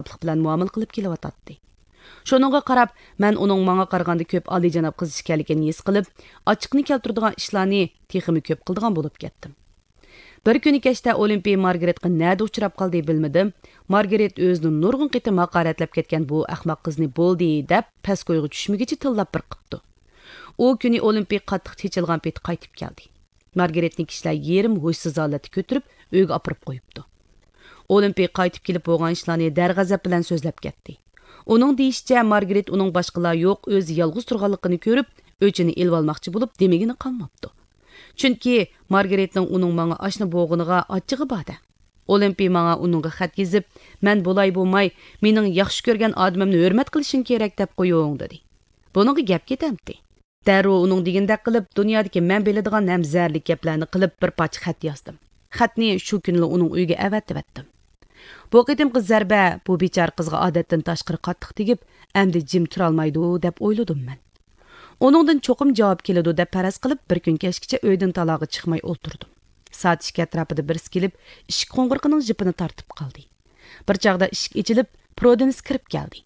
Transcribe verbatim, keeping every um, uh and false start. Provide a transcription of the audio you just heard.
ئازابلىق بىلەن مۇئامىلە قىلىپ كېلىۋاتاتتى. شۇنىڭغا قاراپ، مەن ئۇنىڭ ماڭا قارىغاندا كۆپ ئالىيجاناب قىز ئىكەنلىكىنى ھېس قىلىپ، ئاچچىقنى كەلتۈرىدىغان ئىشلارنى تېخىمۇ كۆپ قىلىدىغان بولۇپ كەتتىم. بىر كۈنى كەچتە ئولىمپىي مارگىرېتقا نەدە ئۇچراپ قالدى بىلمىدىم. مارگىرېت ئۆزىنى نۇرغۇن قېتىم ھاقارەتلەپ كەتكەن بۇ ئەخمەق قىزنى بولدى دەپ، پەس كويغا چۈشمىگۈچە تىللاپ بىر قىپتۇ. ئۇ كۈنى ئولىمپىي قاتتىق چېچىلغان پېتى قايتىپ كەلدى. مارگىرېتنى كىشىلەر يېرىم ھوشسىز ھالەتتە كۆتۈرۈپ، ئۆيگە ئاپىرىپ قويۇپتۇ. ئولىمپىي قايتىپ كېلىپ بولغان ئىشلارنى دەرغەزەپ بىلەن سۆزلەپ كەتتى. ئۇنىڭ دېيىشىچە، مارگىرېت ئۇنىڭ باشقىلار يوق، ئۆزى يالغۇز تۇرغانلىقىنى كۆرۈپ، ئۆچىنى ئېلىۋالماقچى بولۇپ، دېمىگىنى قالماپتۇ. چۈنكى مارگىرېتنىڭ ئۇنىڭ ماڭا ئاشنا بولغىنىغا ئاچچىقى بار-دە. ئولىمپىي ماڭا ئۇنىڭغا خەت يېزىپ، «مەن بولاي بولماي، مېنىڭ ياخشى كۆرگەن ئادىمىمنى ھۆرمەت قىلىشىڭ كېرەك» دەپ قويۇڭ، دېدى. بۇنىڭغا گەپ كېتەمتى؟ دەررۇ ئۇنىڭ دېگىنىدەك قىلىپ، دۇنيادىكى مەن بىلىدىغان ھەم زەھەرلىك گەپلەرنى قىلىپ، بىر پارچە خەت يازدىم. خەتنى شۇ كۈنىلا ئۇنىڭ ئۆيىگە ئەۋەتىۋەتتىم. بۇ قېتىمقى زەربە بۇ بىچارە قىزغا ئادەتتىن تاشقىرى قاتتىق تېگىپ، ئەمدى جىم تۇرالمايدۇ دەپ ئويلىدىم مەن. ئۇنىڭدىن چوقۇم جاۋاب كېلىدۇ دەپ پەرەز قىلىپ، بىر كۈن كەچكىچە ئۆيدىن تالاغا چىقماي ئولتۇردۇم. سائەت ئىككى ئەتراپىدا بىرسى كېلىپ، ئىشىك قوڭغۇرىقىنىڭ جىپىنى تارتىپ قالدى. بىر چاغدا ئىشىك ئېچىلىپ، پرودېنس كىرىپ كەلدى.